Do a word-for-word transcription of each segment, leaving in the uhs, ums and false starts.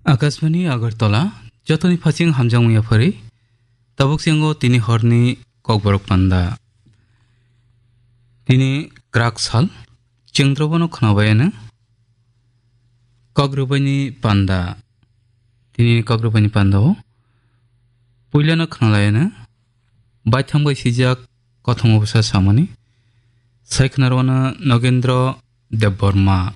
Akashbani Agartala, jotoni phasing hamjakmung yaphari, tabuk singo tini horni kokborok panda. Tini krak sal, chengdrobono khnabayano, kok rwbaini panda. Tini kok rwbaini pandao, puilano khnalayano, baithang bai sijak kothoma bwsa samani, sai khwnarwano Nogendro Debbarma.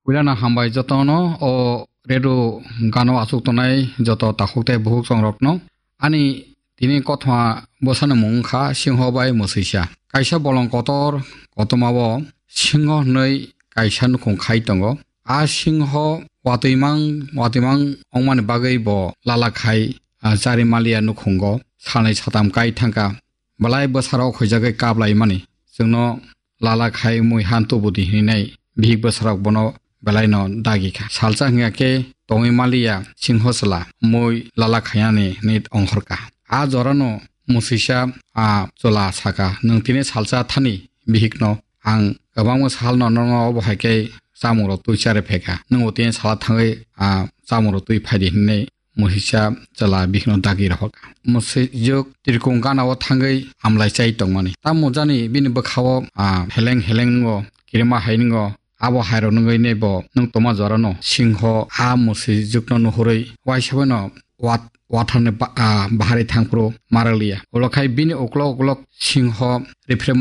Puilano hambai jotono o redu gano achuk tongnai joto takhuk tei bukhuk chongrokno. Ani tini kothoma bwsani mung wngkha Singho bai Mwswisa. Kaisa bolong kotor kotomao Singho hwnwi kaisa nukhung khai tongo. A Singho watwimang watwimang wngmani bagwi bo lala khai, ah, chari maliya nukhungo salnwi satam kai thangkha. Belai bwsarok huijagwi kaplaimani. Chwngno lala khai mui han tubudi hininai bihik bwsarok bono belaino dagi kha. Salsa hwnkha khe tongwi maliya Singho chwla mui lala khainani hinwi ongkhorkha. A jorano Mwswisa a chwla sakha, "Nwng tini salsa thani bihikno ang kwbangma salno nono obo hai khe chamungrok twi chari phaikha. Nwng bo tini sala thangwi a chamungrok twi phaidi," hinwi Mwswisa chwla bihikno dagi rohorkha. Mwswjwk tirkung ganao thangwi amlai chai tongmani. Tamo jani bini bwkhao, ah, heleng heleng nwngo, kirima hai nwngo, abo hairok nungwi neibo nwng tongma jorano Singho a Mwswjwkno nuhurwi waisa baino wat-, watharni ba-, ah, bahari thangphuru marakliya. Ulo khai bini uklok uklok Singho riphrem